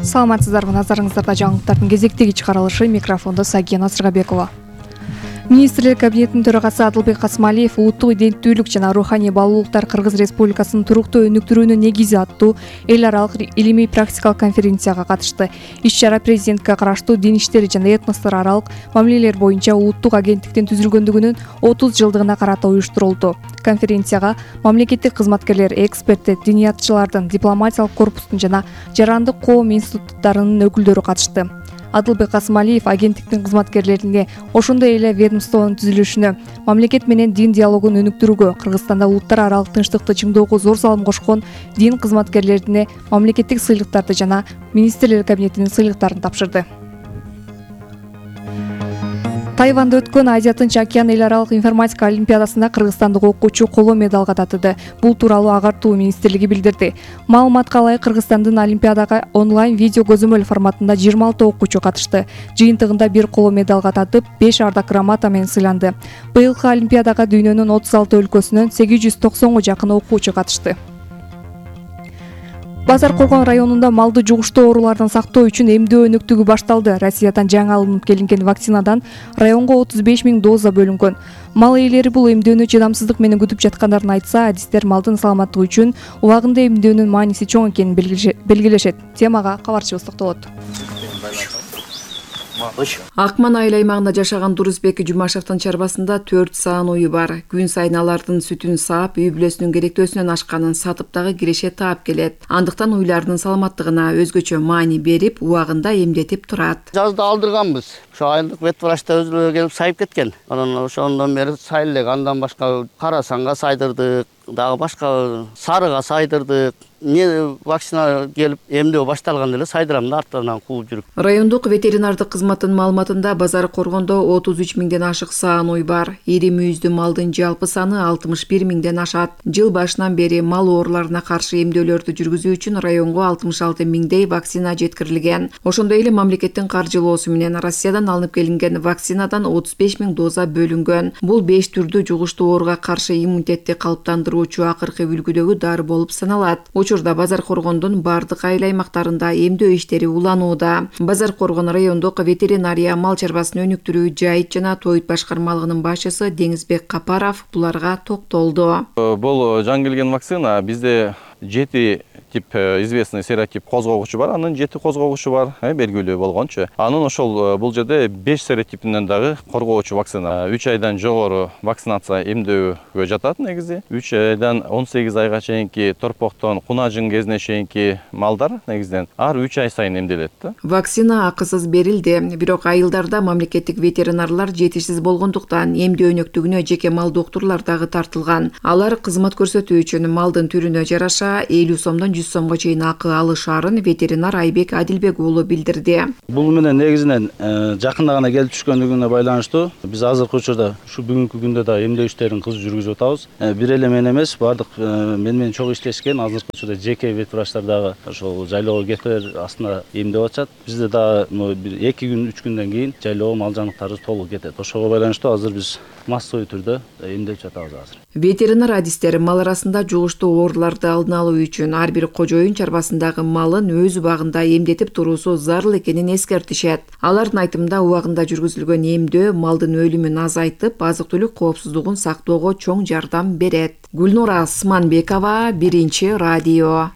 Саламатсыздарбы, назарыңыздарда жаңылыктардын кезектеги чыгарылышы. Микрофондо Сагия Насыргабекова. Министрлер кабинетинин төрагасы Адылбек Касымалиев улуттук иденттүүлүк жана руханий баалуулуктар Кыргыз Республикасынын туруктуу өнүктүрүүнүн негизи аттуу эл аралык илимий практикалык конференцияга катышты. Иш-чара президентке караштуу дин иштери жана этностор аралык мамилелер боюнча улуттук агенттиктин түзүлгөндүгүнүн 30 жылдыгына карата уюштурулду. Конференцияга мамлекеттик кызматкерлер, эксперттер, диниятчылардын, дипломатиялык корпустун жана жарандык коом институттарынын өкүлдөрү катышты. Адылбек Касымалиев агенттиктин кызматкерлерине ошондой эле ведомствонун түзүлүшүнө, мамлекет менен дин диалогун өнүктүрүүгө, Кыргызстанда улуттар аралык тынчтыкты чыңдоого зор салым кошкон дин кызматкерлерине мамлекеттик сыйлыктарды жана министрлер кабинетинин сыйлыктарын тапшырды. Тайванда өткөн Азия Тынч океан эл аралык информатика олимпиадасында кыргызстандык окуучу коло медалга татыды. Бул тууралуу Агартуу министрлиги билдирди. Маалыматка ылайык, Кыргызстандын олимпиадага онлайн видео көзөмөл форматында 26 окуучу катышты. Жыйынтыгында 1 коло медалга татып, 5 ардак грамота менен сыйланды. Быйылкы олимпиадага дүйнөнүн 36 өлкөсүнөн 890 жакын окуучу катышты. Базар Коргон районунда малды жугуштуу оорулардан сактоо үчүн эмдөө өнүктүгү башталды. Россиядан жаңы алынып келинген вакцинадан районго 35 000 доза бөлүнгөн. Мал ээлери бул эмдөөнү чыдамсыздык менен күтүп жаткандарын айтса, адистер малдын саламаттыгы үчүн убагында эмдөөнүн мааниси чоң экенин белгилешет. Темага кабарчыбыз токтолот. Акман айыл аймагында жашаган Дурусбек Жумашевдин чарбасында 4 саан уyu бар. Күн сайын алардын сүтүн саап, үй бүлөсүнүн керектөөсүнөн ашканын сатып дагы киреше таап келет. Андыктан уйлардын саламаттыгына өзгөчө маани берип, убагында эмдетип турат. Жазда алдырганбыз. Ошо айылдык вет врачта өзүлөрү келип сайып кеткен. Анан ошондон бери сайыл элек, андан башка Карасанга сайдырдык, дагы башка Сарыга сайдырдык. Мне вакцина келип эмдөө башталганда эле сайдырамын да, арттарынан кууп жүрүп. Райондук ветеринардык кызматтын маалыматында Базар Коргондо 33 000ден ашык саан уй бар. Ири мүйүздүү малдын жалпы саны 61 000ден ашат. Жыл башынан бери мал ооруларына каршы эмдөөлөрдү жүргүзүү үчүн районго 66 000дей вакцина жеткирилген. Ошондой эле мамлекеттин каржылоосу менен Россиядан алынып келинген вакцинадан 35 000 доза бөлүнгөн. Бул 5 түрдүү жугуштуу ооруга каршы иммунитетти калыптандыруучу акыркы үлгүдөгү дары болуп саналат. Учурда Базар Коргондун бардык айыл аймактарында эмдөө иштери уланууда. Базар Коргон райондук ветеринария мал чарбасын өнүктүрүү жайыт жана тоют башкармалыгынын башчысы Деңизбек Капаров буларга токтолду. Бул жаңы келген вакцина бизде 7 тип известный серотип козгогучу бар, анын 7 козгогучу бар, белгилүү болгончу. Анын ошол бул жерде 5 серотипинен дагы коргоочу вакцина. 3 айдан жогору вакцинация эмдөөгө жатат негизи. 3 айдан 18 айга чейинки торпоктон кунажың кезине чейинки малдар негизден ар 3 ай сайын эмделет да. Вакцина акысыз берилди, бирок айылдарда мамлекеттик ветеринарлар жетишсиз болгондуктан эмдөө өнөктүгүнө жеке мал доктурлар дагы тартылган. Алар кызмат көрсөтүү үчүн малдын түрүнө жараша 50 сомдон 100 сомго чейин акы алышаарын ветеринар Айбек Адилбек уулу билдирди. Бул менен негизинен жакында гана келип түшкөндүгүнө байланыштуу биз азыркы учурда ушу бүгүнкү күндө да эмдөө иштерин кыз жүргүзүп атабыз. Бир эле мен эмес, бардык менен чогуу иштешкен азыркы учурда жеке вет врачтар дагы ошол жайлоого кетер астында эмдеп атышат. Бизде дагы 2 күн 3 күндөн кийин жайлоого мал жаныктарыбыз толук кетет. Ошого байланыштуу азыр биз массовый түрдө эмдеп жатабыз азыр. Ветеринар адистер мал арасында жугуштуу ооруларды алдын алуу үчүн ар бир кожоюн чарбасындагы малын өз убагында эмдетип туруусу зарыл экенин эскертишет. Алардын айтымында убагында жүргүзүлгөн эмдөө малдын өлүмүн азайтып, азык-түлүк коопсуздугун сактоого чоң жардам берет. Гүлнура Сманбекова, Биринчи радио.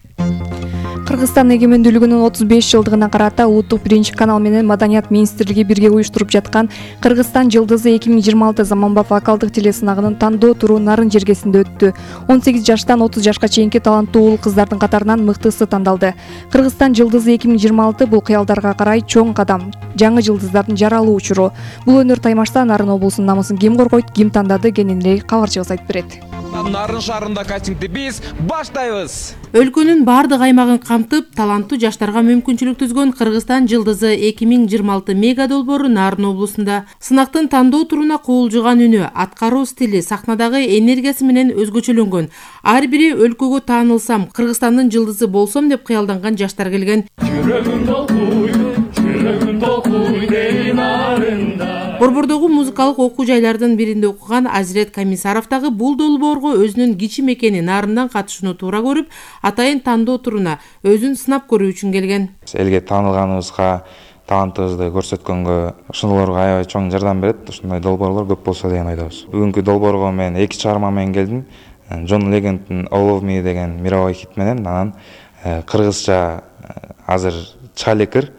Кыргызстан эгемендүүлүгүнүн 35 жылдыгына карата улуттук биринчи канал менен Маданият министрлиги бирге уюштуруп жаткан Кыргызстан жылдызы 2026 заманбап вокалдык телесынагынын тандоо туру Нарын жергесинде өттү. 18 жаштан 30 жашка чейинки таланттуу уул кыздардын катарынан мыктысы тандалды. Кыргызстан жылдызы 2026 бул кыялдарга карай чоң кадам, жаңы жылдыздардын жаралуу учуру. Бул өнөр таймашта Нарын облусунун намысын ким коргойт, ким тандады кененирээк кабарчыбыз айтып берет. Нарын шаарында кастингди биз баштайбыз. Өлкөнүн бардык аймагын камтып, таланттуу жаштарга мүмкүнчүлүк түзгөн Кыргызстан жылдызы 2026 мега долбоору Нарын облусунда сынактын тандоо туруна куулжуган үнү, аткаруу стили, сахнадагы энергиясы менен өзгөчөлөнгөн. Ар бири өлкөгө таанылсам, Кыргызстандын жылдызы болсом деп кыялданган жаштар келген. Борбордогу Ошондогу музыкалык окуу жайлардын биринде окуган Азирет Комиссаров дагы бул долбоорго өзүнүн кичи мекени Нарындан катышууну туура көрүп, атайын тандоо туруна өзүн сынап көрүү үчүн келген. Элге таанылганыбызга, талантыбызды көрсөткөнгө, ошолорго аябай чоң жардам берет. Ушундай долбоорлор көп болсо деген ойдобуз. Бүгүнкү долбоорго мен 2 чыгарма менен келдим. John Legend'in All of Me деген мировой хит менен, анан кыргызча азыр чыга элекир.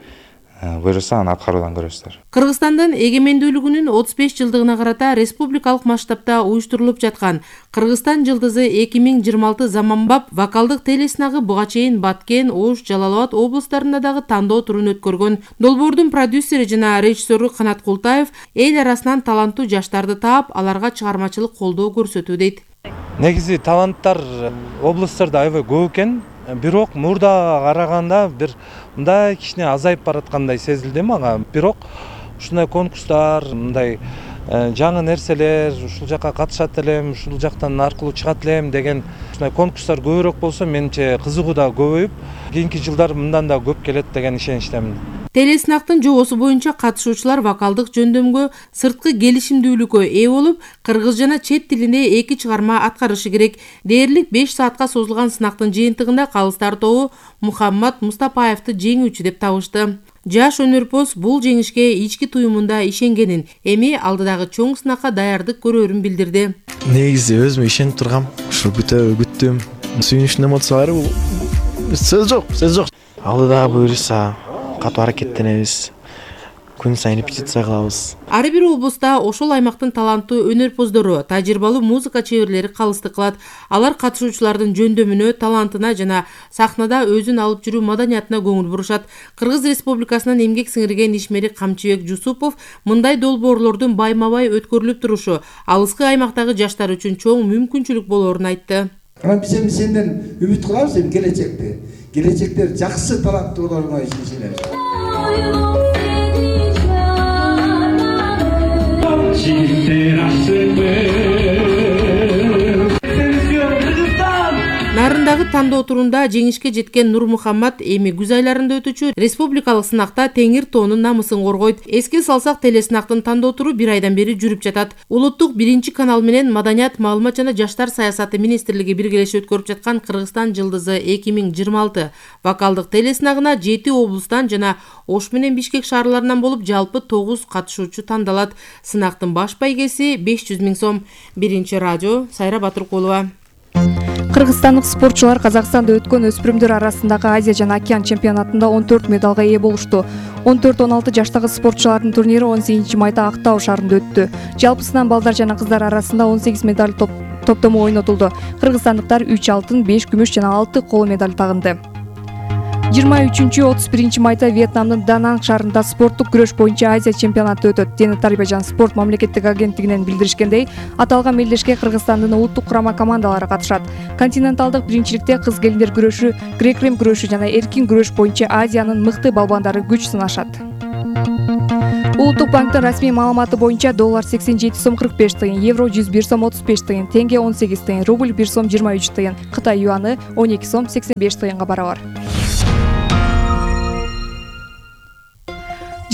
Буюрса аны аткаруудан көрөсүздөр. Кыргызстандын эгемендүүлүгүнүн 35 жылдыгына карата республикалык масштабта уюштурулуп жаткан Кыргызстан жылдызы 2026 заманбап вокалдык телесынагы буга чейин Баткен, Ош, Жалал Абад облустарында дагы тандоо турун өткөргөн. Долбоордун продюсери жана режиссеру Канат Култаев эл арасынан таланттуу жаштарды таап, аларга чыгармачылык колдоо көрсөтүү дейт. Негизи таланттар облустарда аябай көп экен. Бирок мурда караганда бир мындай кичине азайып бараткандай сезилди мага. Бирок ушундай конкурстар, мындай жаңы нерселер, ушул жакка катышат элем, ушул жактан аркылуу чыгат элем деген ушундай конкурстар көбүрөөк болсо, менимче кызыгуу да көбөйүп, кийинки жылдар мындан да көп келет деген ишеничтемин. Телесынактын жобосу боюнча катышуучулар вокалдык жөндөмгө, сырткы келишимдүүлүккө ээ болуп, кыргыз жана чет тилинде 2 чыгарма аткарышы керек. Дээрлик 5 саатка созулган сынактын жыйынтыгында калыстар тобу Мухаммад Мустапаевди жеңүүчү деп табышты. Жаш өнөрпоз бул жеңишке ички туюмунда ишенгенин, эми алдыдагы чоң сынакка даярдык көрөрүн билдирди. Негизи өзүмө ишенип тургам, ушу күттүм. Сүйүнүчтүн эмоциялары сөз жок. Алдыда буюрса катуу аракеттенебиз. Күн сайын репетиция кылабыз. Ар бир облуста ошол аймактын таланттуу өнөрпоздору, тажрыйбалуу музыка чеберлери калыстык кылат. Алар катышуучулардын жөндөмүнө, талантына жана сахнада өзүн алып жүрүү маданиятына көңүл бурушат. Кыргыз Республикасынын эмгек сиңирген ишмери Камчыбек Жусупов мындай долбоорлордун байма-бай өткөрүлүп турушу алыскы аймактагы жаштар үчүн чоң мүмкүнчүлүк болоорун айтты. Биз эми сенден үмүт кылабыз эми келечекте жакшы таланттууларга ишенебиз. Нарындагы тандоо турунда жеңишке жеткен Нур Мухаммад эми күз айларында өтүүчү республикалык сынакта теңир тоонун намысын коргойт. Эске салсак, телесынактын тандоо туру 1 айдан бери жүрүп жатат. Улуттук 1 канал менен Маданият, маалымат жана жаштар саясаты министрлиги биргелешип өткөрүп жаткан Кыргызстан жылдызы 2026 вокалдык телесынагына 7 облустан жана Ош менен Бишкек шаарларынан болуп жалпы 9 катышуучу тандалат. Сынактын баш байгеси 500 000 сом. Биринчи радио, Сайра Батыркулова. Кыргызстандык спортчулар Казакстанда өткөн өспүрүмдөр арасындагы Азия жана Океан чемпионатында 14 медалга ээ болушту. 14-16 жаштагы спортчулардын турнири 18 майда Актау шаарында өттү. Жалпысынан балдар жана кыздар арасында 18 медаль топтому ойнотулду. Кыргызстандыктар 3 алтын, 5 күмүш жана 6 коло медаль тагынды. 23-31 майда Вьетнамдын Дананг шаарында спорттук күрөш боюнча Азия чемпионаты өтөт. Дени Тарбия жана спорт мамлекеттик агенттигинен билдиришкендей, аталган мелдешке Кыргызстандын улуттук курама командалары катышат. Континенталдык биринчиликте кыз келиндер күрөшү, грек-рим күрөшү жана эркин күрөш боюнча Азиянын мыкты балбандары күч сынашат. Улуттук банктын расмий маалыматы боюнча доллар 87 сом 45 тыйын, евро 101 сом 35 тыйын, тенге 18 тыйын, рубль 1 сом 23 тыйын, Кытай юаны 12 сом 85 тыйынга барабар.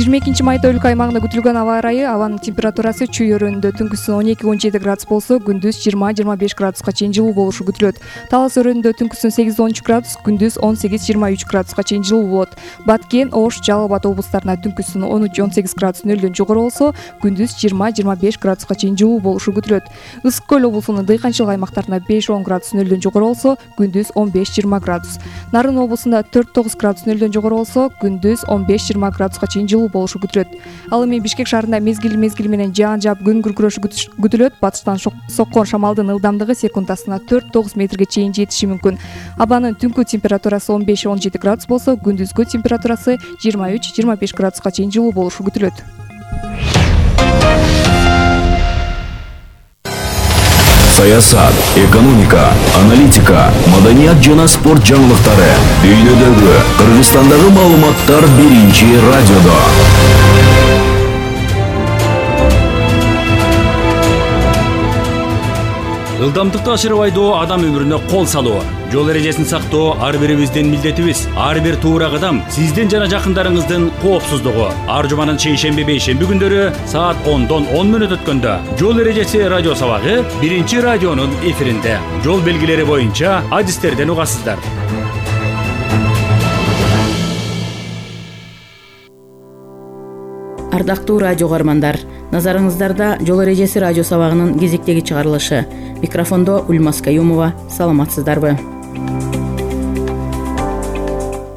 22 майда өлкө аймагында күтүлгөн аба ырайы, абанын температурасы чүй өрөөнүндө түнкүсүн 12-17 градус болсо, күндүз 20-25 градуска чейин жылуу болушу күтүлөт. Талас өрөөнүндө түнкүсүн 8-13 градус, күндүз 18-23 градуска чейин жылуу болот. Баткен, Ош, Жалал Абад облустарына түнкүсүн 13-18 градус нөлдөн жогору болсо, күндүз 20-25 градуска чейин жылуу болушу күтүлөт. Ысык көл облусунун дыйканчылык аймактарына 5-10 градус нөлдөн жогору болсо, күндүз 15-20 градус. Нарын облусунда 4-9 градус нөлдөн жогору болсо, күндүз 15-20 градуска чейин жылуу болушу күтүлөт. Ал эми Бишкек шаарында мезгил менен жаан жаап күн күркүрөшү күтүлөт. Батыштан соккон шамалдын ылдамдыгы секундасына 4-9 метрге чейин жетиши мүмкүн. Абанын түнкү температурасы 15-17 градус болсо, күндүзгү температурасы 23-25 градуска чейин жылуу болушу күтүлөт. Саясат, экономика, аналитика, маданият жана спорт жаңылыктары дүйнөдөгү, Кыргызстандагы маалыматтар биринчи радиодо. Ылдамдыкты ашырып айдоо адам өмүрүнө кол салуу. Жол эрежесин сактоо ар бирибиздин милдетибиз. Ар бир туура кадам сиздин жана жакындарыңыздын коопсуздугу. Ар жуманын шейшемби бейшемби күндөрү саат 10дон 10 мүнөт өткөндө Жол эрежеси радио сабагы биринчи радионун эфиринде. Жол белгилери боюнча адистерден угасыздар. Ардактуу радио көрөрмандар, назарыңыздарда Жол эрежеси радио сабагынын кезектеги чыгарылышы. Микрофондо Ульмас Каюмова. Саламатсыздарбы?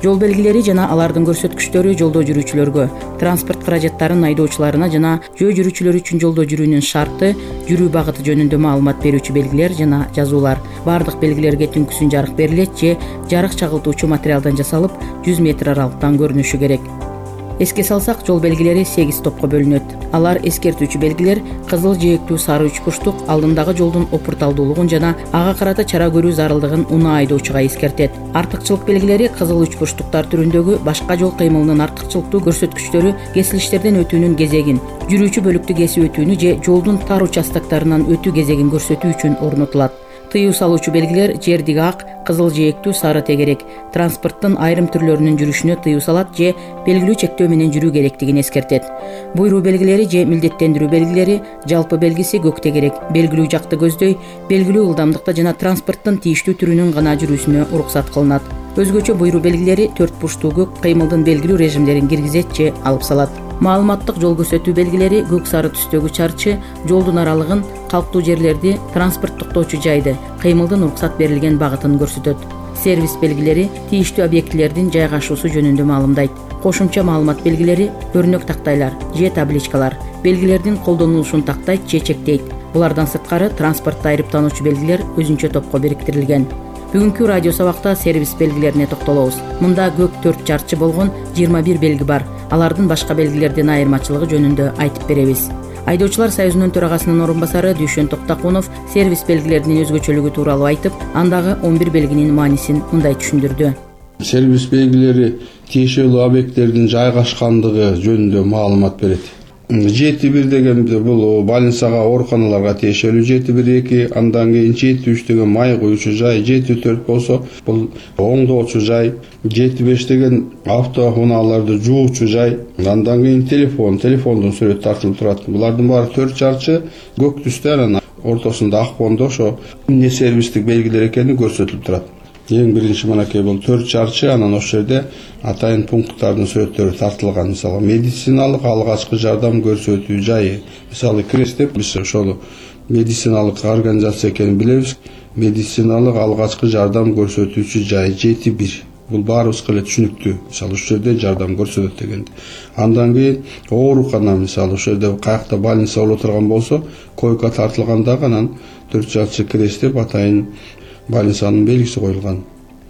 Жол белгилери жана алардын көрсөткүчтөрү жолдо жүрүүчүлөргө, транспорт каражаттарын айдоочуларына жана жөө жүрүүчүлөр үчүн жолдо жүрүүнүн шарты, жүрүү багыты жөнүндө маалымат берүүчү белгилер жана жазуулар. Бардык белгилерге түнкүсүн жарык берилет же жарык чагылтуучу материалдан жасалып, 100 метр аралыктан көрүнүшү керек. Эске салсак, жол белгилери 8 топко бөлүнөт. Алар эскертүүчү белгилер кызыл, жээктүү, сары үч бурчтук алдындагы жолдун опурталдуулугун жана ага карата чара көрүү зарылдыгын унаа айдоочуга эскертет. Артыкчылык белгилери кызыл үч бурчтуктар түрүндөгү башка жол кыймылынын артыкчылыктуу көрсөткүчтөрү, кесилиштерден өтүүнүн кезегин, жүрүүчү бөлүктү кесип өтүүнү же жолдун тар участоктарынан өтүү кезегин көрсөтүү үчүн орнотулат. Тыюу салуучу белгилер жердиги ак, кызыл, жээктүү, сары тегерек, транспорттун айрым түрлөрүнүн жүрүшүнө тыюу салат же белгилүү чектөө менен жүрүү керектигин эскертет. Буйруу белгилери же милдеттендирүү белгилери жалпы белгиси көк тегерек, белгилүү жакты көздөй, белгилүү ылдамдыкта жана транспорттун тийиштүү түрүнүн гана жүрүүсүнө уруксат кылынат. Өзгөчө буйруу белгилери 4 бурчтуу көк кыймылдын белгилүү режимдерин киргизет же алып салат. Маалыматтык жол көрсөтүү белгилери көк сары түстөгү чарчы жолдун аралыгын, калктуу жерлерди, транспорт токтоочу жайды, кыймылдын уруксат берилген багытын көрсөтөт. Сервис белгилери тийиштүү объектилердин жайгашуусу жөнүндө маалымдайт. Кошумча маалымат белгилери өрнөк тактайлар же табличкалар белгилердин колдонулушун тактайт же чектейт. Булардан сырткары транспортто айрыптануучу белгилер өзүнчө топко бириктирилген. Бүгүнкү радио сабакта сервис белгилерине токтолобуз. Мында көк 4 чарчы болгон 21 белги бар. Алардын башка белгилерден айырмачылыгы жөнүндө айтып беребиз. Айдоочулар союзунун төрагасынын орун басары Дүйшөн Токтакунов сервис белгилеринин өзгөчөлүгү тууралуу айтып, андагы 11 белгинин маанисин мындай түшүндүрдү. Сервис белгилери тиешелүү объекттердин жайгашкандыгы жөнүндө маалымат берет. 7-1 деген бул больницага, ооруканаларга тиешелүү, 7-1-2, андан кийин 7-3 деген май куючу жай, 7-4 болсо бул оңдоочу жай, 7-5 деген автоунааларды жуучу жай, андан кийин телефондун сүрөтү тартылып турат. Булардын баары 4 чарчы көк түстө, анан ортосунда ак фондо ошо эмне сервистик белгилер экени көрсөтүлүп турат. Эң биринчи мынакей бул 4 чарчы, анан ошол жерде атайын пункттардын сүрөттөрү тартылган. Мисалы медициналык алгачкы жардам көрсөтүү жайы, мисалы КРЕС деп биз ошол медициналык организация экенин билебиз. Медициналык алгачкы жардам көрсөтүүчү жай 7-1. Бул баарыбызга эле түшүнүктүү. Мисалы ушул жерде жардам көрсөтөт дегенди. Андан кийин оорукана, мисалы ошол жерде каякта больница боло турган болсо, койка тартылгандагы анан 4 чарчы КРЕС деп атайын больницанын белгиси коюлган.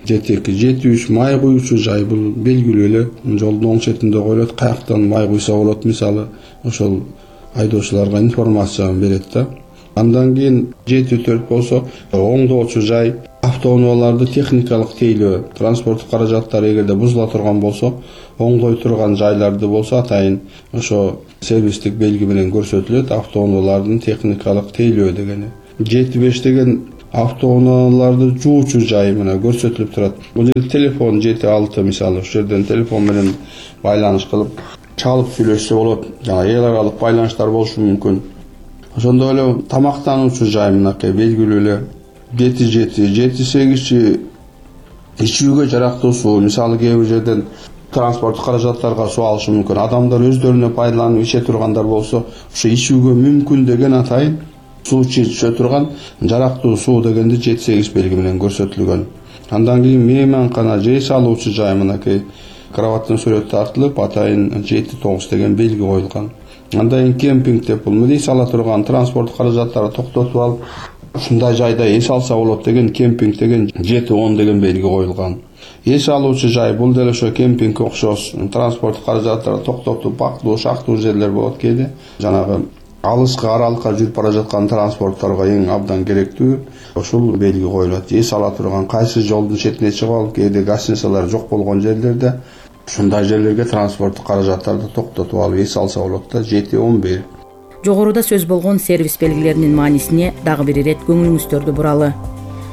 7-2, 7-3 май куючу жай, бул белгилүү эле жолдун оң четинде коюлат, каяктан май куйса болот, мисалы ошол айдоочуларга информацияны берет да. Андан кийин 7-4 болсо оңдоочу жай, автоунааларды техникалык тейлөө, транспорттук каражаттар эгерде бузула турган болсо, оңдой турган жайларды болсо атайын ошо сервистик белги менен көрсөтүлөт, автоунаалардын техникалык тейлөө дегени. 7-5 деген автоунааларды жуучу жай мына көрсөтүлүп турат. Бул жерде телефон 7-6, мисалы ошол жерден телефон менен байланыш кылып чалып сүйлөшсө болот. Жана эл аралык байланыштар болушу мүмкүн. Ошондой эле тамактануучу жай мынакей белгилүү эле 7-8 ичүүгө жарактуу суу, мисалы кээ бир жерден транспорттук каражаттарга суу алышы мүмкүн. Адамдар өздөрүнө пайдаланып иче тургандар болсо, ошо ичүүгө мүмкүн деген атайын суу иче турган жарактуу суу дегенди 7-8 белги менен көрсөтүлгөн. Андан кийин мейманкана жей салуучу жай мынакей кроваттын сүрөтү тартылып, атайын 7-9 деген белги коюлган. Андан кийин кемпинг деп бул эс ала турган транспорт каражаттарды токтотуп алып, ушундай жайда эс алса болот деген кемпинг деген 7-10 деген белги коюлган. Эс алуучу жай бул деле ошо кемпингге окшош, транспорт каражаттарды токтотуп, бактуу, шактуу жерлер болот кээде. Жанагы алыскы аралыкка жүрүп бара жаткан транспортторго эң абдан керектүү ошол белги коюлат. Эс ала турган кайсы жолдун четине чыгып алып, кээде гостиницалар жок болгон жерлерде ушундай жерлерге транспорттук каражаттарды токтотуп алып эс алса болот да. 7-11. Жогоруда сөз болгон сервис белгилеринин маанисине дагы бир ирет көңүлүңүздөрдү буралы.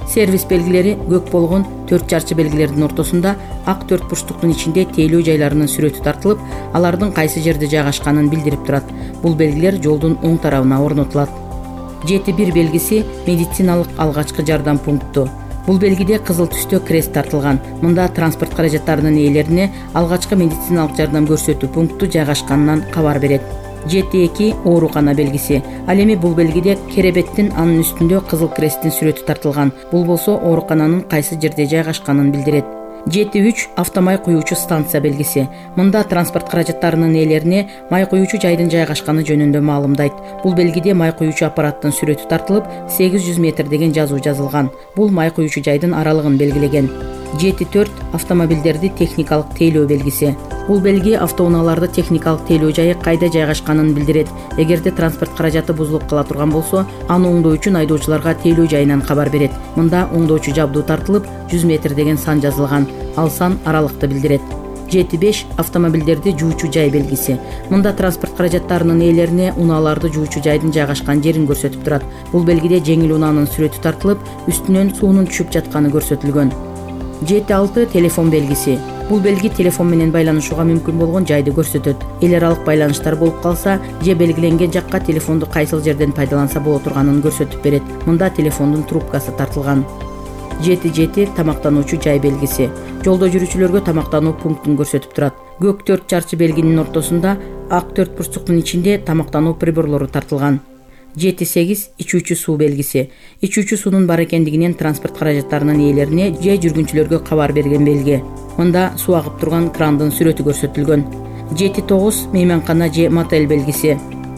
Сервис белгилери көк болгон 4 чарчы белгилердин ортосунда ак 4 бурчтуктун ичинде тейлөө жайларынын сүрөтү тартылып, алардын кайсы жерде жайгашканын билдирип турат. Бул белгилер жолдун оң тарабына орнотулат. 7.1 белгиси медициналык алгачкы жардам пункту. Бул белгиде кызыл түстө крест тартылган. Мында транспорт каражаттарынын ээлерине алгачкы медициналык жардам көрсөтүү пункту жайгашканынан кабар берет. 7.2 оорукана белгиси. Ал эми бул белгиде керебеттин анын үстүндө кызыл кресттин сүрөтү тартылган. Бул болсо оорукананын кайсы жерде жайгашканын билдирет. 7.3 автомай куюучу станция белгиси. Мында транспорт каражаттарынын ээлерине май куюучу жайдын жайгашканы жөнүндө маалымдайт. Бул белгиде май куюучу аппараттын сүрөтү тартылып, 800 метр деген жазуу жазылган. Бул май куюучу жайдын аралыгын белгилеген. 7.4 автомобилдерди техникалык тейлөө белгиси. Бул белги автоунааларды техникалык тейлөө жайы кайда жайгашканын билдирет. Эгерде транспорт каражаты бузулуп кала турган болсо, аны оңдоо үчүн айдоочуларга тейлөө жайынан кабар берет. Мында оңдоочу жабдуу тартылып, 100 метр деген сан жазылган. Ал сан аралыкты билдирет. 7.5 автомобилдерди жуучу жай белгиси. Мында транспорт каражаттарынын ээлерине унааларды жуучу жайдын жайгашкан жерин көрсөтүп турат. Бул белгиде жеңил унаанын сүрөтү тартылып, үстүнөн суунун түшүп жатканы көрсөтүлгөн. 7.6 телефон белгиси. Бул белги телефон менен байланышууга мүмкүн болгон жайды көрсөтөт. Эл аралык байланыштар болуп калса, же белгиленген жакка телефонду кайсыл жерден пайдаланса боло турганын көрсөтүп берет. Мында телефондун трубкасы тартылган. 7.7 тамактануучу жай белгиси. Жолдо жүрүүчүлөргө тамактануу пунктун көрсөтүп турат. Көк 4 чарчы белгинин ортосунда ак 4 бурчтуктун ичинде тамактануу приборлору тартылган. 7.8 ичүүчү суу белгиси. Ичүүчү суунун бар экендигинен транспорт каражаттарынын ээлерине же жүргүнчүлөргө кабар берген белги. Мында суу агып турган крандын сүрөтү көрсөтүлгөн. 7.9 мейманкана же мотель белгиси.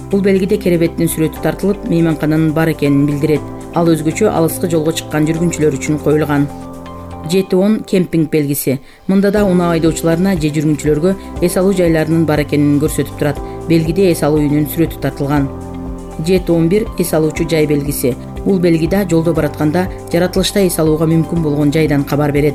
Бул белгиде керебеттин сүрөтү тартылып, мейманкананын бар экенин билдирет. Ал өзгөчө алыскы жолго чыккан жүргүнчүлөр үчүн коюлган. 7.10 кемпинг белгиси. Мында да унаа айдоочуларына же жүргүнчүлөргө эс алуу жайларынын бар экенин көрсөтүп турат. Белгиде эс алуу үйүнүн сүрөтү тартылган. 7.11 эс алуучу жай белгиси. Бул белгиде жолдо баратканда жаратылышта эс алууга мүмкүн болгон жайдан кабар берет.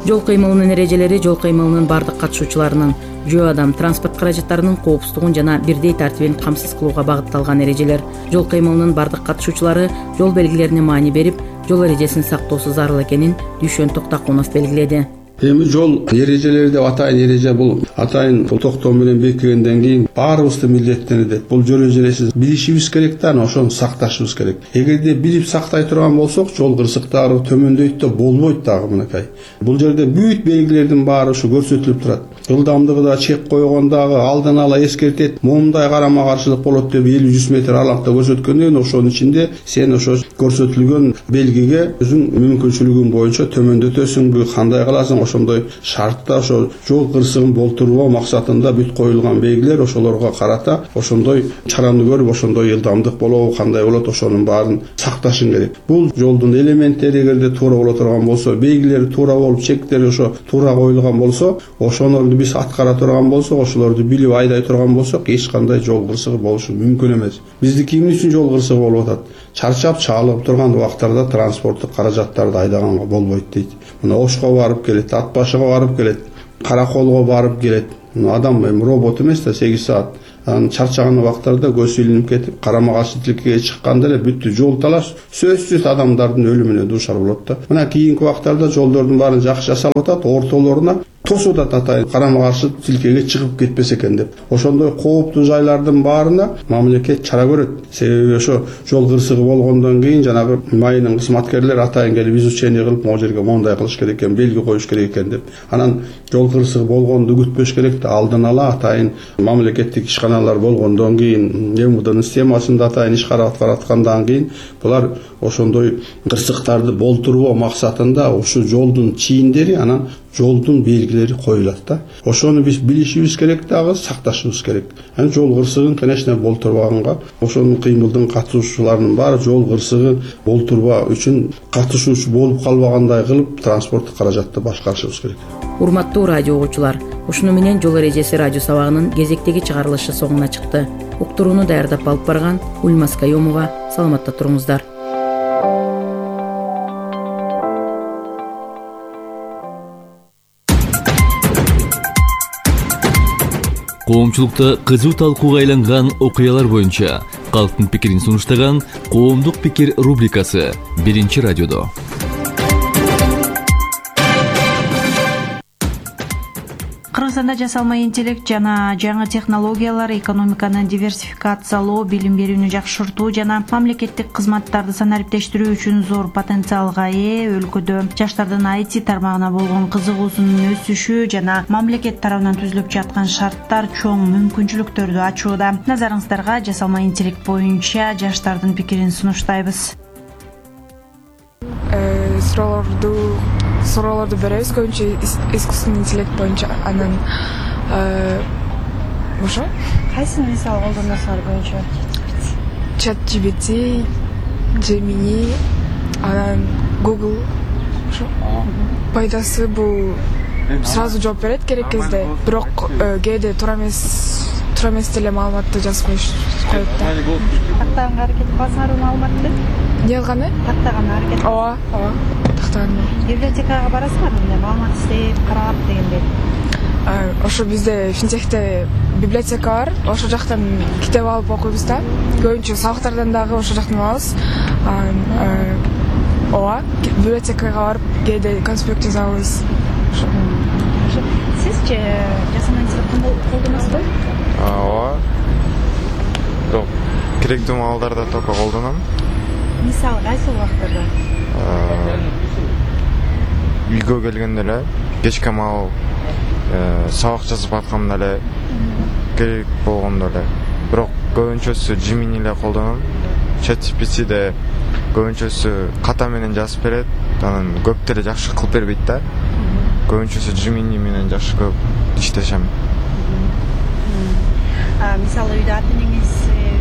Жол кыймылынын эрежелери жол кыймылынын бардык катышуучуларынын, жөө адам, транспорт каражаттарынын коопсуздугун жана бирдей тартибин камсыз кылууга багытталган эрежелер. Жол кыймылынын бардык катышуучулары жол белгилерине маани берип, жол эрежесин сактоосу зарыл экенин Дүйшөн Токтакунов белгиледи. Эми жол эрежелери деп атайын эреже бул атайын токтоо менен бекигенден кийин баарыбызды милдеттенет. Бул жол эрежесин билишибиз керек да, ошону сакташыбыз керек. Эгерде билип сактай турган болсок, жол кырсыктары төмөндөйт да болбойт дагы мынакай. Бул жерде бүт белгилердин баары ушу көрсөтүлүп турат. Жылдамдыгы да чек койгон дагы алдын ала эскертет. Момундай карама каршылык болот деп 50-100 метр аралыкта көрсөткөндөн ошонун ичинде сен ошо көрсөтүлгөн белгиге өзүң мүмкүнчүлүгүң боюнча төмөндөтөсүңбү, кандай кыласың, ошондой шартта ошо жол кырсыгын болтурбоо максатында бүт коюлган белгилер, ошолорго карата ошондой чараны көрүп, ошондой ылдамдык болобу, кандай болот, ошонун баарын сакташың керек. Бул жолдун элементтери эгерде туура боло турган болсо, белгилери туура болуп, чектери ошо туура коюлган болсо, ошолорду биз аткара турган болсок, ошолорду билип айдай турган болсок, эч кандай жол кырсыгы болушу мүмкүн эмес. Биздики эмне үчүн жол кырсыгы болуп атат? Чарчап чаалып турган убактарда транспорттук каражаттарды айдаганга болбойт дейт. Мына Ошко барып келет, Ат башыга барып келет, Караколго барып келет. Адам робот эмес да, 8 саат. Анан чарчаган убактарда көз илинип кетип, карама каршы тилкеге чыкканда эле бүттү жол талаш, сөзсүз адамдардын өлүмүнө дуушар болот да. Мына кийинки убактарда жолдордун баарын жакшы жасалып атат, ортолоруна тосуп атат, карама каршы тилкеге чыгып кетпесе экен деп. Ошондой кооптуу жайлардын баарына мамлекет чара көрөт. Себеби ошо жол кырсыгы болгондон кийин жанагы майынын кызматкерлери атайын келип изучение кылып, могу жерге мондай кылыш керек экен, белги коюш керек экен деп. Анан жол кырсыгы болгонду күтпөш керек да, алдын ала атайын мамлекеттик ишканалар болгондон кийин, МВДнын системасында атайын иш карап аткандан кийин булар ошондой кырсыктарды болтурбоо максатында ушу жолдун чийиндери, анан жолдун белгилери коюлат да. Ошону биз билишибиз керек дагы, сакташыбыз керек. Анан жол кырсыгын, конечно, болтурбаганга, ошонун кыймылдын катышуучуларынын баары жол кырсыгын болтурбаа үчүн катышуучу болуп калбагандай кылып, транспорттук каражатты башкарышыбыз керек. Урматтуу радио угуучулар, ушуну менен жол эрежеси радио сабагынын кезектеги чыгарылышы соңуна чыкты. Уктурууну даярдап алып барган Ульмас Каюмова. Саламатта туруңуздар. коомчулукта кызуу талкууга айланган окуялар боюнча калктын пикирин сунуштаган коомдук пикир рубрикасы Биринчи радиодо. Кыргызстанда жасалма интеллект жана жаңы технологиялар экономиканы диверсификациялоо, билим берүүнү жакшыртуу жана мамлекеттик кызматтарды санариптештирүү үчүн зор потенциалга ээ. Өлкөдө жаштардын IT тармагына болгон кызыгуусунун өсүшү жана мамлекет тарабынан түзүлүп жаткан шарттар чоң мүмкүнчүлүктөрдү ачууда. Назарыңыздарга жасалма интеллект боюнча жаштардын пикирин сунуштайбыз. Суроолорду беребиз көбүнчө искусственный интеллект боюнча. Анан ошо кайсыны мисал колдоносуңар көбүнчө? ChatGPT, Gemini, анан Google. Ошо пайдасы бул сразу жооп берет керек кезде, бирок кээде туура эмес деле маалыматты жазып коет да. Тактаганга аракет кыласыңарбы маалыматты? Эмне кылганы? Тактаганга аракет. Ооба, тактаганга. Библиотекага барасыңарбы, мындай маалымат издеп, карап дегендей? Ошо бизде финтехте библиотека бар. Ошол жактан китеп алып окуйбуз да. Көбүнчө сабактардан дагы ошол жактан алабыз. Ооба, библиотекага барып, кээде конспект жазабыз. Сизчи жасалма интеллектти колдоносузбу? Ооба. Бирок керектүү маалдарда только колдоном. Мисалы кайсы убактарда? Үйгө келгенде эле, кечке маал сабак жазып атканда эле, керек болгондо эле. Бирок көбүнчөсү Gemini эле колдоном. ChatGPT көбүнчөсү ката менен жазып берет, анан көп деле жакшы кылып бербейт да. Көбүнчөсү Gemini менен жакшы көп иштешем. Мисалы үйдө ата-энеңиз,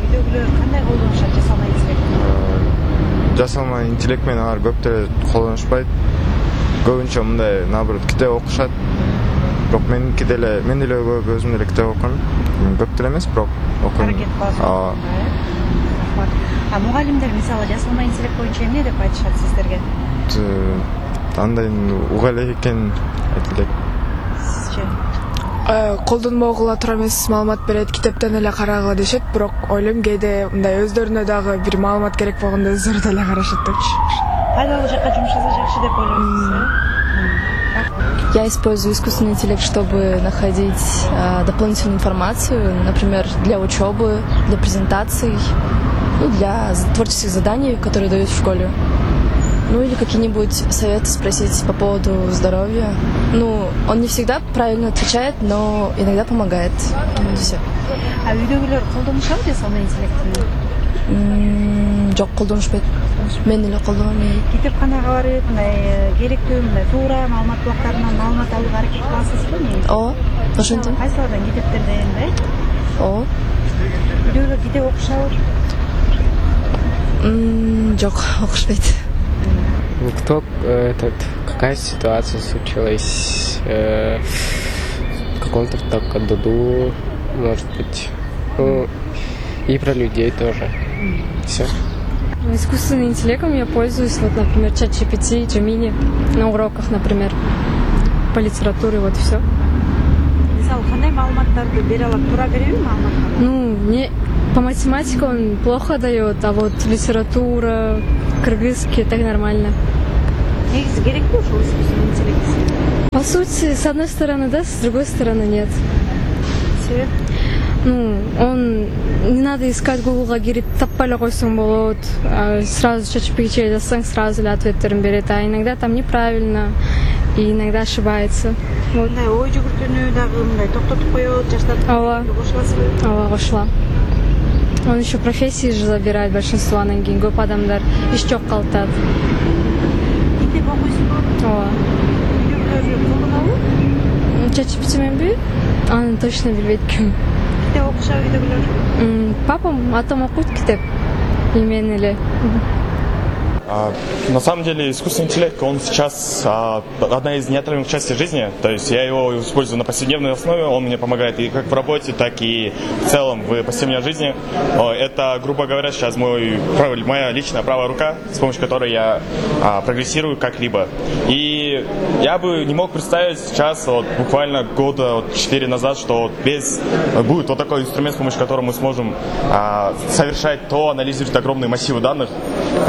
үйдөгүлөр кандай колдонушат жасалма интеллект? Жасалма интеллект менен алар көп деле колдонушпайт. Көбүнчө мындай наоборот китеп окушат. Бирок мен деле өзүм деле китеп окуйм. Көп деле эмес, бирок окуйм. Аракет кыласыз. Мугалимдер мисалы жасалма интеллект боюнча эмне деп айтышат сиздерге? Андай уга элек экен айтып элек. Сизчи? Колдонбогула туура эмес маалымат берет, китептен эле карагыла дешет, бирок ойлойм кээде мындай өздөрүнө дагы бир маалымат керек болгондо өздөрү деле карашат депчи. Пайдалуу жакка жумшаса жакшы деп ойлойсуз. Я использую искусственный интеллект, чтобы находить дополнительную информацию, например, для учебы, для презентаций, для творческих заданий, которые дают в школе. Или какие-нибудь советы спросить по поводу здоровья. Он не всегда правильно отвечает, но иногда помогает. Все. Үйдөгүлөр колдонушат жасалма интеллектини? Жок, колдонушпайт. Мен эле колдоном. Китепканага барып, мындай керектүү, мындай туура маалымат булактарынан маалымат алууга аракет кыласызбы? Ооба, ошентип. Кайсылардан китептерден, Ооба. Үйдөгүлөр китеп окушабы? Жок, окушпайт. Какая ситуация случилась в каком-то году, может быть, и про людей тоже. Все. Искусственным интеллектом я пользуюсь, например, ChatGPT, Gemini, на уроках, например, по литературе, вот все. Мисалы, кандай маалыматтарды бере алат, туура береби маалыматтарды? Мне по математике он плохо дает, а вот литература, кыргызский, так нормально. Негизи керекпи ушул искусственный интеллект? По сути, с одной стороны да, с другой стороны нет. Себеп? Он не надо искать Гуглга кирип таппай эле койсоң болот. Сразу ChatGPT жазсаң, сразу эле ответтерин берет. А иногда там неправильно и иногда ошибается. Вот. Мындай ой жүгүртүүнү дагы мындай токтотуп коет, жаштарды кошуласызбы? Ооба, кошулам. Он еще профессии же забирает большинство, анан кийин көп адамдар иш жок калтат. Китеп окуйсузбу? Ооба. Үйдөгүлөр колдонобу? ChatGPT менби? Аны точно билбейт ким. Китеп окушабы үйдөгүлөр? Папам, атам окуйт китеп. И мен эле. На самом деле искусственный интеллект, он сейчас одна из неотъемлемых частей жизни. То есть я его использую на повседневной основе, он мне помогает и как в работе, так и в целом в повседневной жизни. Это, грубо говоря, сейчас моя личная правая рука, с помощью которой я прогрессирую как-либо. И я бы не мог представить сейчас, буквально года 4 назад, что будет вот такой инструмент, с помощью которого мы сможем совершать анализировать огромные массивы данных.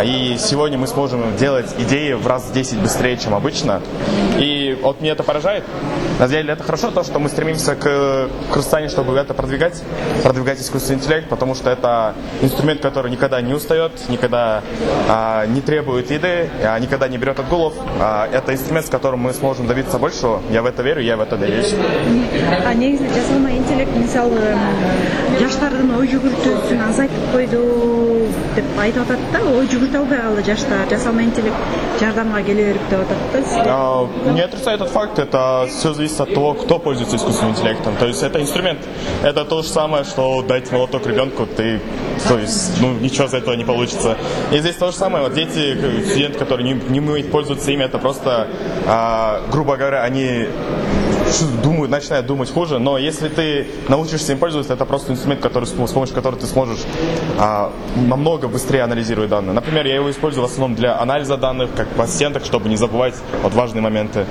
И сегодня мы сможем делать идеи в раз в 10 быстрее, чем обычно. И меня это поражает. На самом деле это хорошо, то, что мы стремимся к Кыргызстане, чтобы это продвигать искусственный интеллект, потому что это инструмент, который никогда не устает, никогда не требует еды, никогда не берет отгулов. Это инструмент, с которым мы сможем добиться большего. Я в это верю, я в это надеюсь. Негизи жасалма интеллект мисалы жаштардын ой жүгүртүүсүн азайтып койду деп айтып атат да, ой жүгүртө албай калды жаштар, жасалма интеллект жардамга келе берип деп атат да. Не отрицаю этот факт, это все зависит от того, кто пользуется искусственным интеллектом. То есть это инструмент, это то же самое, что дать молоток ребенку, ничего из этого не получится. И здесь то же самое, дети, студенты, которые не умеют пользоваться ими, это просто, грубо говоря, они начинают думать хуже, но если ты научишься им пользоваться, это просто инструмент, с помощью которого ты сможешь намного быстрее анализировать данные. Например, я его использую в основном для анализа данных, как в ассистентах, чтобы не забывать важные моменты.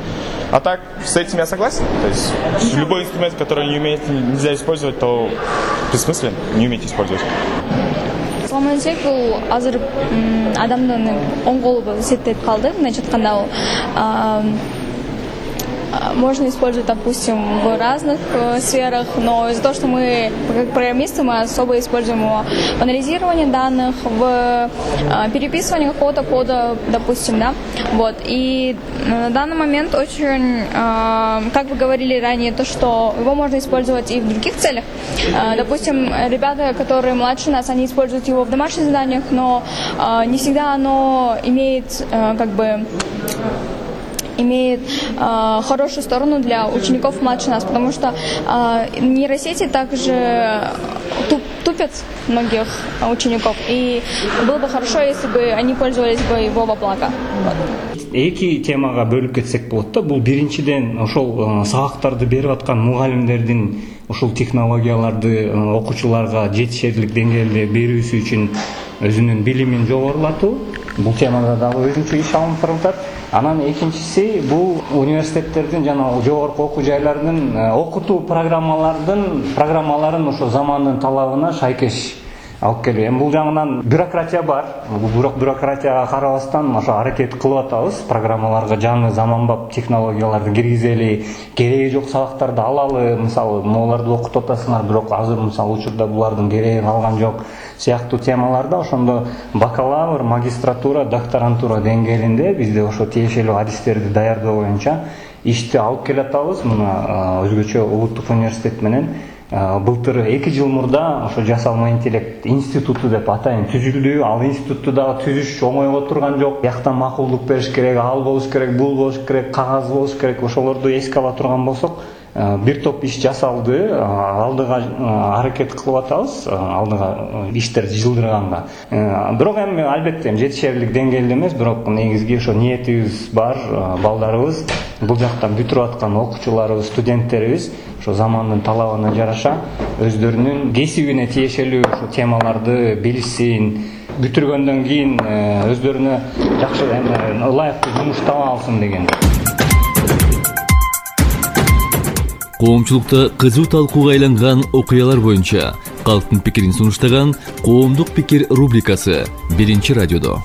А так, с этим я согласен. То есть любой инструмент, который нельзя использовать, то бессмыслен, не умеете использовать. Жасалма интеллект бул азыр адамдын оң колу болуп эсептелип калды. Мындайча айтканда можно использовать, допустим, в разных сферах, но из-за того, что мы, как программисты, мы особо используем его в анализировании данных, в переписывании какого-то кода, допустим, да, и на данный момент очень, как вы говорили ранее, то, что его можно использовать и в других целях. Допустим, ребята, которые младше нас, они используют его в домашних заданиях, но не всегда оно имеет, имеет хорошую сторону для учеников младше нас, потому что нейросети также тупят многих учеников, и было бы хорошо, если бы они пользовались бы его во благо. Эки темага бөлүп кетсек болот да. Бул биринчиден ошол сабактарды берип аткан мугалимдердин ушул технологияларды окуучуларга жетишерлик деңгээлде берүүсү үчүн өзүнүн билимин жогорулатуу. Бул темада дагы өзүнчө иш алынып турат. Анан экинчиси бул университеттердин жана жогорку окуу жайлардын окутуу программаларын ошо замандын талабына шайкеш алып келүү. Эми бул жагынан бюрократия бар. Бирок бюрократияга карабастан ошо аракет кылып атабыз. Программаларга жаңы заманбап технологияларды киргизели, кереги жок сабактарды алалы. Мисалы, могуларды окутуп атасыңар, бирок азыр мисалы учурда булардын кереги калган жок сыяктуу темаларда ошондо бакалавр, магистратура, докторантура деңгээлинде бизде ошо тиешелүү адистерди даярдоо боюнча ишти алып келатабыз. Мына өзгөчө улуттук университет менен былтыр 2 жыл мурда ошо жасалма интеллект институту деп атайын түзүлдү. Ал институтту дагы түзүш оңойго турган жок. Бияктан макулдук бериш керек, ал болуш керек, бул болуш керек, кагаз болуш керек. Ошолорду эске ала турган болсок, бир топ иш жасалды. Алдыга аракет кылып атабыз, алдыга иштерди жылдырганга. Бирок эми албетте жетишерлик деңгээлде эмес, бирок негизги ошо ниетибиз бар. Балдарыбыз, бул жакта бүтүрүп аткан окуучуларыбыз, студенттерибиз ошо замандын талабына жараша өздөрүнүн кесибине тиешелүү ошо темаларды билишсин, бүтүргөндөн кийин өздөрүнө жакшы ылайыктуу жумуш таба алсын деген. Коомчулукта кызуу талкууга айланган окуялар боюнча калктын пикирин сунуштаган Коомдук пикир рубрикасы 1-радиодо.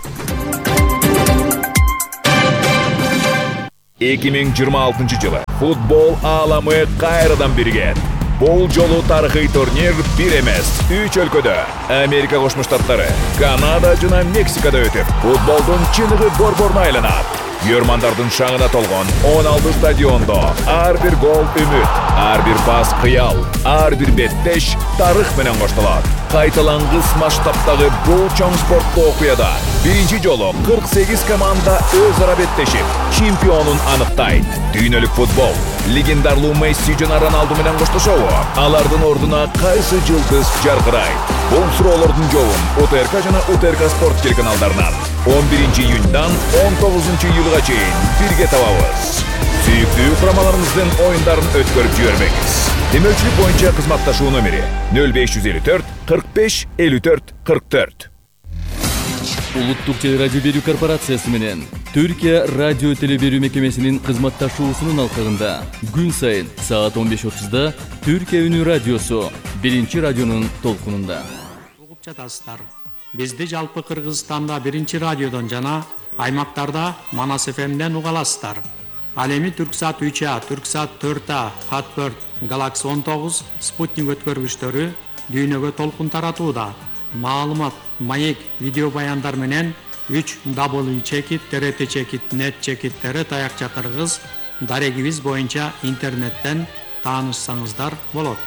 2026 жылы футбол ааламы кайрадан биригет. Бул жолу тарыхый турнир бир эмес, 3 өлкөдө Америка Кошмо Штаттары, Канада жана Мексикада өтүп, футболдун чыныгы борборуна айланат. Көрмандардын шаңына толгон 16 стадиондо ар бир гол үмүт, Ар бир пас кыял, ар бир беттеш тарых менен коштолот. Кайталангыс масштабтагы бул чоң спорттуу окуяда биринчи жолу 48 команда өз ара беттешип, чемпионун аныктайт. Дүйнөлүк футбол легендарлуу Месси жана Роналду менен коштошобу? Алардын ордуна кайсы жылдыз жаркырайт? Бул суроолордун жообун УТРК жана УТРК спорт телеканалдарынан 11 июньдан 19 июлга чейин бирге табабыз. Сүйүктүү курамаларыбыздын оюндарын өткөрүп жибербеңиз. Демөөлчүлүк боюнча кызматташуу номери 0554 45 54 44. Улуттук телерадио берүү корпорациясы менен Түркия радио телеберүү мекемесинин кызматташуусунун алкагында күн сайын саат 15:30 Түркия үнү радиосу биринчи радионун толкунунда. Угуп жатасыздар. Бизди жалпы Кыргызстанда биринчи радиодон жана аймактарда Манас ФМден уга аласыздар. Ал эми Түрксат 3А, Түрксат 4А, Хат4, Галакс 19, Спутник өткөргүчтөрү дүйнөгө толкун таратууда. Маалымат, маек, видео баяндар менен 3w.trt.net чекиттери таякча кыргыз дарегибиз боюнча интернеттен таанышсаңыздар болот.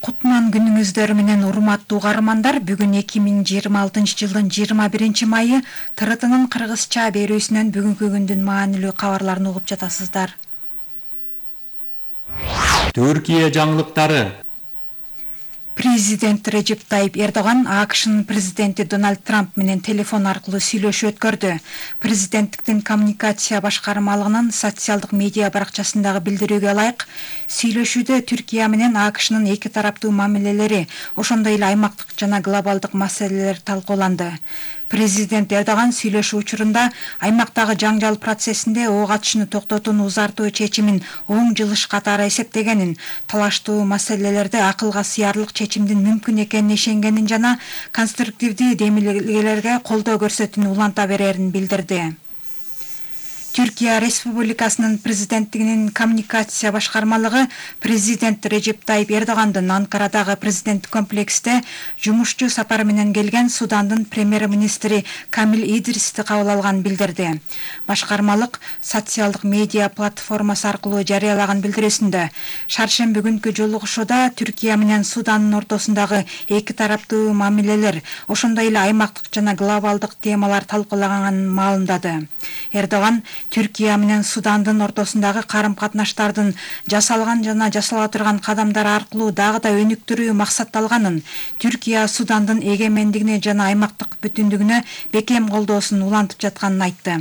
Кутман күнүңүздөр менен урматтуу угармандар, бүгүн 2026 жылдын 21 майы ТРТнын кыргызча берүүсүнөн бүгүнкү күндүн маанилүү кабарларын угуп жатасыздар. Түркия жаңылыктары. Президент Режеп Тайип Эрдоган АКШнын президенти Дональд Трамп менен телефон аркылуу сүйлөшүү өткөрдү. Президенттиктин коммуникация башкармалыгынын социалдык медиа баракчасындагы билдирүүгө ылайык, сүйлөшүүдө Түркия менен АКШнын эки тараптуу мамилелери, ошондой эле аймактык жана глобалдык маселелер талкууланды. Президент Эрдоган сүйлөшүү учурунда аймактагы жаңжал процессинде ок атышууну токтотууну узартуу чечимин оң жылыш катары эсептегенин, талаштуу маселелерде акылга сыярлык чечимдин мүмкүн экенине ишенгенин жана конструктивдүү демилгелерге колдоо көрсөтүүнү уланта берерин билдирди. Түркия Республикасынын президенттигинин коммуникация башкармалыгы президент Режеп Тайип Эрдогандын Анкарадагы президент комплексте жумушчу сапары менен келген Судандын премьер-министри Камил Идристи кабыл алганын билдирди. Башкармалык социалдык медиа платформасы аркылуу жарыялаган билдирүүсүндө шаршемби күнкү жолугушууда Түркия менен Судандын ортосундагы эки тараптуу мамилелер, ошондой эле аймактык жана глобалдык темалар талкуулаганын маалымдады. Эрдоган Түркия менен Судандын ортосундагы карым-катнаштардын жасалган жана жасала турган кадамдар аркылуу дагы да өнүктүрүү максатталганын, Түркия Судандын эгемендигине жана аймактык бүтүндүгүнө бекем колдоосун улантып жатканын айтты.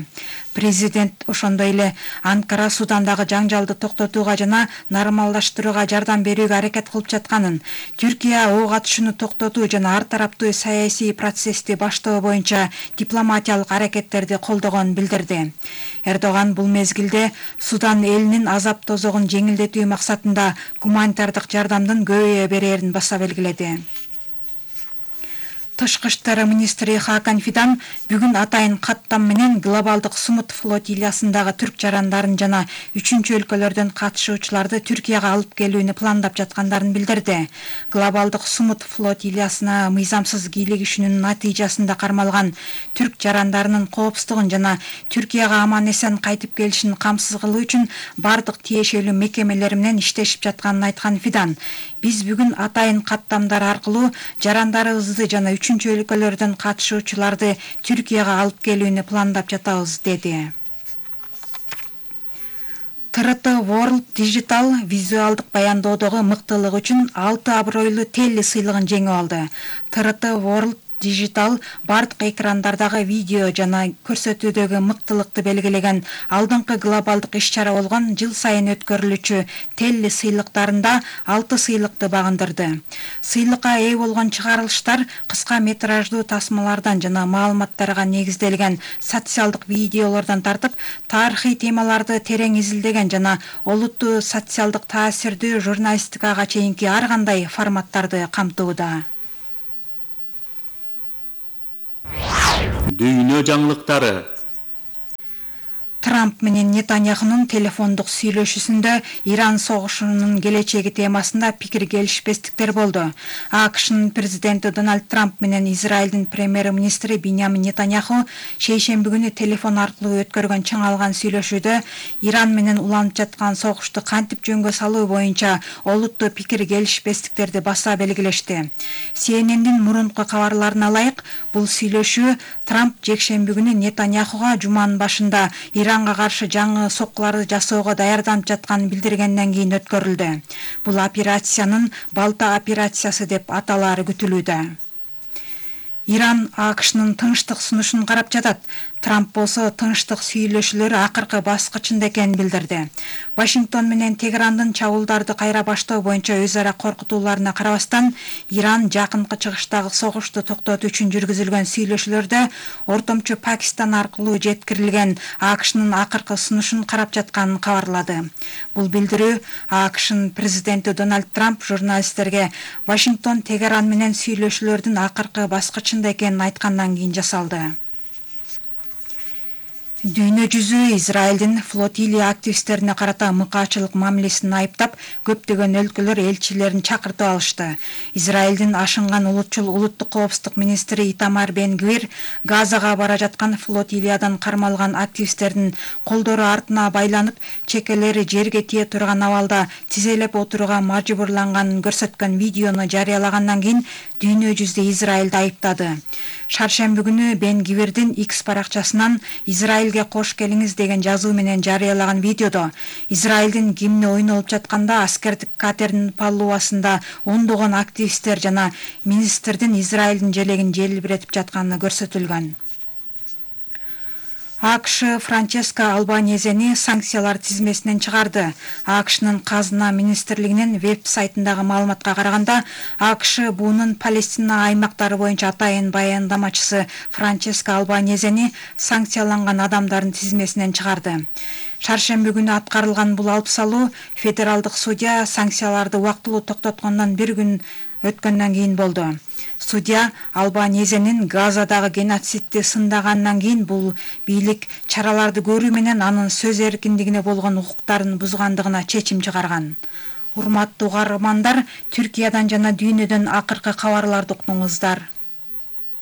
Президент ошондой эле Анкара Судандагы жаңжалды токтотууга жана нормалдаштырууга жардам берүүгө аракет кылып жатканын, Түркия ок атышууну токтотуу жана ар тараптуу саясий процессти баштоо боюнча дипломатиялык аракеттерди колдогонун билдирди. Эрдоган бул мезгилде Судан элинин азап тозогун жеңилдетүү максатында гуманитардык жардамдын көбөйө берерин баса белгиледи. Тышкы иштер министри Хакан Фидан бүгүн атайын каттам менен глобалдык сумут флотилиясындагы түрк жарандарын жана үчүнчү өлкөлөрдөн катышуучуларды Түркияга алып келүүнү пландап жаткандарын билдирди. Глобалдык сумут флотилиясына мыйзамсыз кийлигишүүнүн натыйжасында кармалган түрк жарандарынын коопсуздугун жана Түркияга аман эсен кайтып келишин камсыз кылуу үчүн бардык тиешелүү мекемелер менен иштешип жатканын айткан Фидан, биз бүгүн атайын каттамдар аркылуу жарандарыбызды жана үчүнчү өлкөлөрдөн катышуучуларды Түркияга алып келүүнү пландап жатабыз, деди. ТРТ World Digital визуалдык баяндоодогу мыктылыгы үчүн 6 абройлуу Телли сыйлыгын жеңип алды. ТРТ World Digital бардык экрандардагы видео жана көрсөтүүдөгү мыктылыкты белгилеген алдыңкы глобалдык иш-чара болгон жыл сайын өткөрүлүүчү Телли сыйлыктарында 6 сыйлыкты багындырды. Сыйлыкка ээ болгон чыгарылыштар кыска метраждуу тасмалардан жана маалыматтарга негизделген социалдык видеолордон тартып, тарыхый темаларды терең изилдеген жана олуттуу социалдык таасирдүү журналистикага чейинки ар кандай форматтарды камтууда. Дүйнө жаңылыктары. Трамп менен Нетаньяхунун телефондук сүйлөшүүсүндө Иран согушунун келечеги темасында пикир келишпестиктер болду. АКШнын президенти Дональд Трамп менен Израилдин премьер-министри Биньямин Нетаньяху шейшемби күнү телефон аркылуу өткөргөн чыңалган сүйлөшүүдө Иран менен уланып жаткан согушту кантип жөнгө салуу боюнча олуттуу пикир келишпестиктерди баса белгилешти. CNN'дин мурунку кабарларына ылайык, бул сүйлөшүү Трамп жекшемби күнү Нетаньяхуга жуманын башында Иранга каршы жаңы соккуларды жасоого даярданып жатканын билдиргенден кийин өткөрүлдү. Бул операциянын балта операциясы деп аталаары күтүлүүдө. Иран АКШнын тынчтык сунушун карап жатат. Трамп болсо тынчтык сүйлөшүүлөр акыркы баскычында экенин билдирди. Вашингтон менен Тегерандын чабуулдарды кайра баштоо боюнча өз ара коркутууларына карабастан, Иран жакынкы чыгыштагы согушту токтотуу үчүн жүргүзүлгөн сүйлөшүүлөрдө ортомчу Пакистан аркылуу жеткирилген АКШнын акыркы сунушун карап жатканын кабарлады. Бул билдирүү АКШнын президенти Дональд Трамп журналисттерге Вашингтон Тегеран менен сүйлөшүүлөрдүн акыркы баскычында экенин айткандан кийин жасалды. Дүйнө жүзү Израилдин флотилия активисттерине карата мыкаачылык мамилесин айыптап, көптөгөн өлкөлөр элчилерин чакыртып алышты. Израилдин ашынган улутчул улуттук коопсуздук министри Итамар Бен-Гвир Газага бара жаткан флотилиядан кармалган активисттердин колдору артына байланып, чекелери жерге тие турган абалда тизелеп отурууга мажбурланганын көрсөткөн видеону жарыялагандан кийин дүйнө жүзү Израилди айыптады. Шаршемби күнү Бен-Гвирдин X баракчасынан Израилге кош келиңиз деген жазуу менен жарыялаган видеодо Израилдин гимни ойнолуп жатканда аскердик катердин палубасында ондогон активисттер жана министрдин Израилдин желегин желбиретип жатканы көрсөтүлгөн. АКШ Франческо Албанезени санкциялар тизмесинен чыгарды. АКШнын казына министрлигинин веб-сайтындагы маалыматка караганда, АКШ буунун Палестина аймактары боюнча атайын баяндамачысы Франческо Албанезени санкцияланган адамдардын тизмесинен чыгарды. Шаршемби күнү аткарылган бул алып салуу федералдык судья санкцияларды убактылуу токтоткондон бир күн өткөндөн кийин болду. Судья Албанезенин Газадагы геноцидти сындагандан кийин бул бийлик чараларды көрүү менен анын сөз эркиндигине болгон укуктарын бузгандыгына чечим чыгарган. Урматтуу угармандар, Түркиядан жана дүйнөдөн акыркы кабарларды уктуңуздар.